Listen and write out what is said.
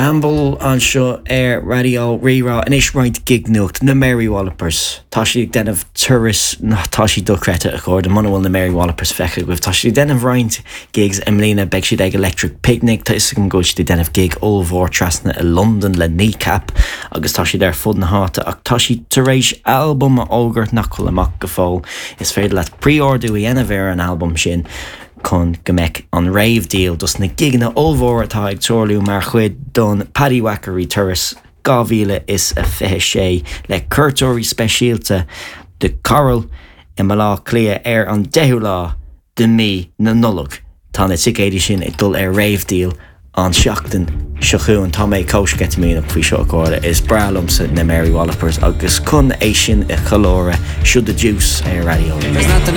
Campbell anseo ar Raidió Rí-Rá. Anois roinnt gig nuacht, na Mary Wallopers. Tá siad ag déanamh turas, tá siad dochreidte a chairde, muna bhfuil na Mary Wallopers feicthe agaibh. Tá siad ag déanamh roinnt gigs i mbliana, beidh siad ag Electric Picnic, tá 'fhios agam go bhfuil siad ag déanamh gig ollmhór trasna i Londain le Kneecap agus tá siad ar fud na háite ach tá siad tar éis albam a fhógairt nach bhfuil amach go fóill. Is féidir leat pre-ordú a dhéanamh ar an albam sin. chun go mbeidh an réamhdhíol dos na gigeanna ollmhóra atá ag tarlú mar chuid don Paddy Whackery Turas 2026 le cuairteoirí speisialta The Coral i mBaile Átha Cliath ar an 10ú lá de mí na Nollag. Tá na ticéidí sin ag dul ar réamhdhíol an seachtain seo chugainn. Tá mé chomh sceitimíneach faoi seo a chairde. Is breá liomsa na Mary Wallopers agus chun é sin a cheiliúradh, seo The Deuce ar Raidió Rí-Rá.